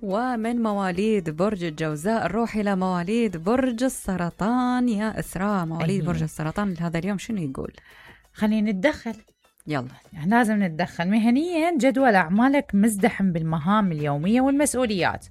ومن مواليد برج الجوزاء نروح إلى مواليد برج السرطان. يا إسراء، مواليد برج السرطان لهذا اليوم شنو يقول؟ خلينا نتدخل. يلا لازم نتدخل. مهنيا جدول أعمالك مزدحم بالمهام اليومية والمسؤوليات.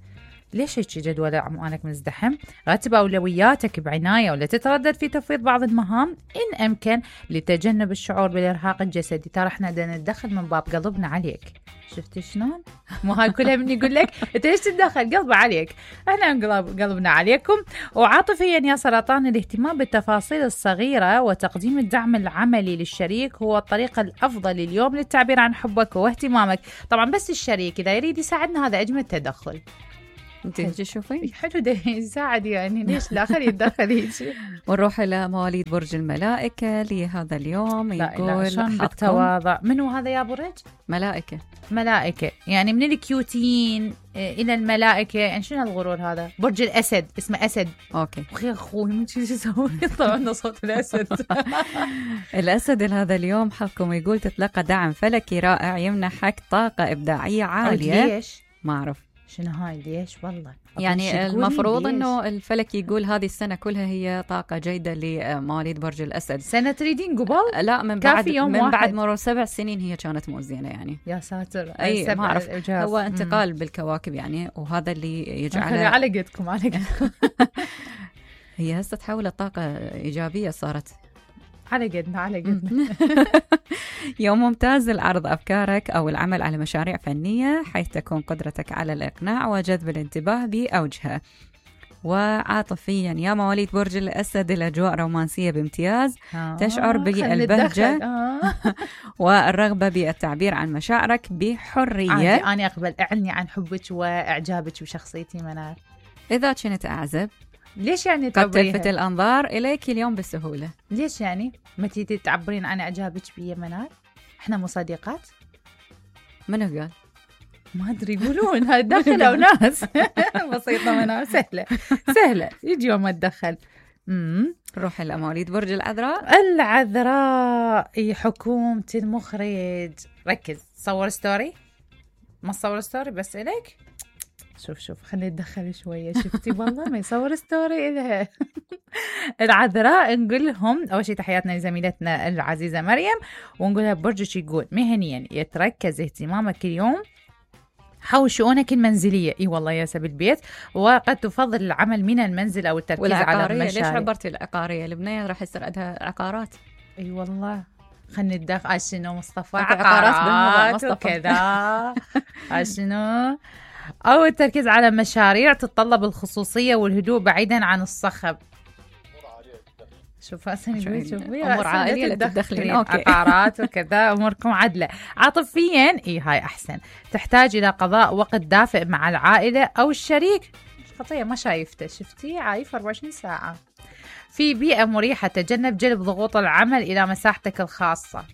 ليش هيك جدول أعمالك مزدحم؟ رتب أولوياتك بعناية ولا تتردد في تفويض بعض المهام إن أمكن لتجنب الشعور بالإرهاق الجسدي. ترى احنا بدنا نتدخل من باب قلبنا عليك. شفت شلون؟ مو هاي كلها من يقول لك انت ليش تتدخل؟ قلبه عليك. احنا قلبنا عليكم. وعاطفيا يا سرطان، الاهتمام بالتفاصيل الصغيرة وتقديم الدعم العملي للشريك هو الطريقة الأفضل اليوم للتعبير عن حبك واهتمامك. طبعا بس الشريك إذا يريد يساعدنا هذا أجمل تدخل. انت تشوفي حلو ده يساعد، يعني ليش الآخر يتدخل هيك. ونروح إلى مواليد برج الملائكة لهذا اليوم. يقول شلون بالتواضع. منو هذا يا برج؟ ملائكة يعني من الكيوتين إلى الملائكة. يعني شنو هالغرور هذا؟ برج الأسد، اسمه أسد. أوكي أخي أخوي من شو يسوي؟ يطلع لنا صوت الأسد. الأسد هذا اليوم حظكم يقول تتلقى دعم فلكي رائع يمنحك طاقة إبداعية عالية. ليش؟ ما أعرف شنو هاي ليش والله. يعني المفروض انه الفلك يقول هذه السنه كلها هي طاقه جيده لمواليد برج الاسد. سنه تريدين قبل؟ لا، من بعد مرور 7 سنين هي كانت مو زينه يعني. يا ساتر. اي ما اعرف، هو انتقال بالكواكب يعني، وهذا اللي يجعل على قدكم. هي هسه تحولت طاقه ايجابيه صارت. على قدنا. يوم ممتاز لعرض أفكارك أو العمل على مشاريع فنية، حيث تكون قدرتك على الإقناع وجذب الانتباه بأوجها. وعاطفيا يا مواليد برج الأسد، الأجواء رومانسية بامتياز. تشعر بالبهجة والرغبة بالتعبير عن مشاعرك بحرية. أنا أقبل أعني عن حبك وإعجابك بشخصيتي منال. إذا كنت أعزب ليش يعني قد تلفت الأنظار إليك اليوم بسهولة. ليش يعني ما تيجي تعبرين عن إعجابك بي منال؟ إحنا مو صديقات؟ منو قال؟ ما أدري، يقولون هاي دخلوا ناس. بسيطة منال، سهلة يجي يوم أتدخل. روح إلى مواليد برج العذراء. حكومة المخرج. ركز، صور ستوري. ما تصور ستوري بس إليك. شوف خلينا نتدخل شوية. شفتي والله ما يصور ستوري إلها. العذراء نقول لهم أول شيء تحياتنا لزميلتنا العزيزة مريم، ونقولها برجك يقول مهنيا يتركز اهتمامك اليوم حول شؤونك المنزلية. اي والله يا سبي البيت، وقد تفضل العمل من المنزل أو التركيز على المشاريع. ليش عبرتي العقارية؟ البنية راح يصير عندها عقارات. اي والله. خلينا ندخل شنو مصطفى عقارات وكذا. شنو أو التركيز على مشاريع تتطلب الخصوصية والهدوء بعيدا عن الصخب. شوف أمور عائلية تدخلين. عقارات وكذا أموركم عدلة. عاطفيا هاي أحسن، تحتاج إلى قضاء وقت دافئ مع العائلة أو الشريك. خطية ما شايفته، شفتي عايف 24 ساعة. في بيئة مريحة، تجنب جلب ضغوط العمل إلى مساحتك الخاصة.